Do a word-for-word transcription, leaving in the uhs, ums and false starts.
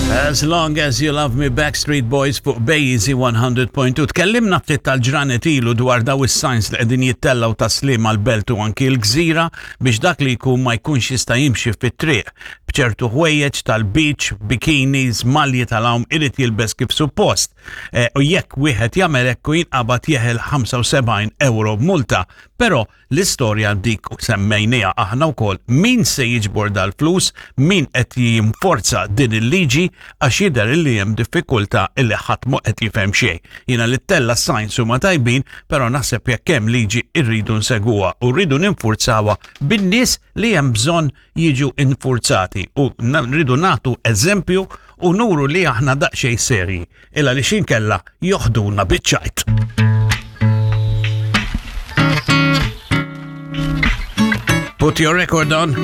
As Long As You Love Me, Backstreet Boys fuq Bejzi one hundred point two. Tkellimna ftit tal-ġranet ilu dwar daw is-signs li qegħdin jittellaw ta' Sliema, l-Belt u anki l-Gżira biex dak li jkun ma jkunx jista' jimxi fit-triq b'ċertu ħwejjeġ tal-beach, bikinis, malji tal-għawm, irid jilbes kif suppost. E, u jekk wieħed jagħmel hekk u jinqabad, jeħel ħamsa u sebgħin euro multa. Però l-istorja dik semmejnija aħna wkoll: min se jiġbor dal-flus, min qed jinforza din il-liġi, għax jidher li hemm diffikultà illi ħadd mhu qed jifhem xejn. Jiena li ttella' signs huma tajbin, però naħseb jekk hemm liġi rridu nsegwuha u rridu ninfurzawha bin-nies li hemm bżonn jiġu infurzati u rridu nagħtu eżempju u nuru li aħna daqsxejn serji illa li xinkella joħduna biċ-ċajt. Put your record on.